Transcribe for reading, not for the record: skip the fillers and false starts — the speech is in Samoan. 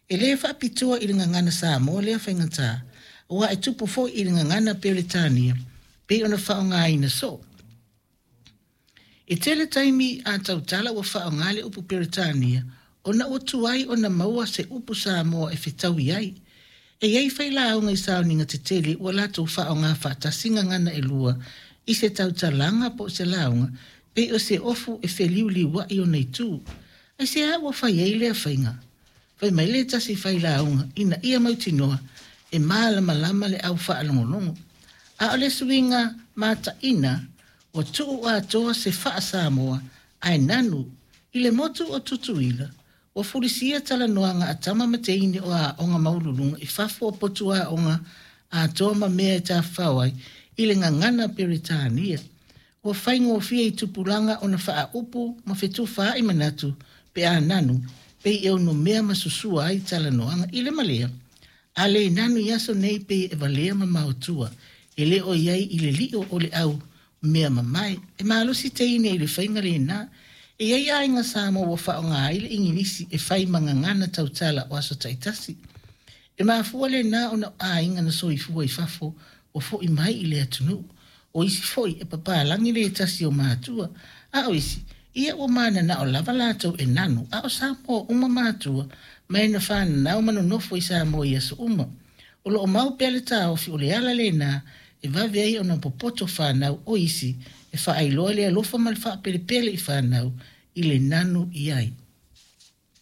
E le faapitoa i le gagana Samoa lea faigata, aua e tupu foi i le gagana Peretania pei ona faaaogaina soo. E tele taimi a tautala ua faaaoga le upu Peretania ona ua tuai ona maua se upu Samoa e fetaui ai. E i ai failauga i sauniga tetele ua latou faaaoga faatasi gagana e lua i se tautalaga po o se lauga, pei o se ofu e feliuliuai ona itu. Aisea ua fai ai lea faiga? Fai mai le tasi failauga ina ia mautinoa e malamalama le au faalogologo. A o le suiga mataina, ua tuu atoa se faa-Samoa ae nanu i le motu o Tutuila, ua fulisia talanoaga a tama ma teine o aoga maualuluga i fafo o potu aoga atoa ma mea e tafafao ai i le gagana Peretania. Ua faigofie i tupulaga ona faaupu ma fetufaai manatu pe a nanu, pei e onomea ma susua ai talanoaga. I le ma lea, a le nanu i aso nei pei e valea ma maotua, e le o i ai i le lio o le au mea mamae. E malosi teine i le faiga lena. E i ai aiga Samoa ua faaaoga ai le Igilisi e fai ma gagana tautala o aso taitasi. E mafua lena ona o aiga na soifua i fafo ua foi mai i le atunuu. O isi foi e papalagi le tasi o matua, a o isi, ia ua mananao lava latou e nanu, a o Samoa uma matua, mai na fananau ma nonofo i Samoa i aso uma. O lo o mau pea le taofi o le ala lena e vave ai ona popoto fanau o isi e faailoa le alofa ma le faapelepele i fanau i le nanu i ai.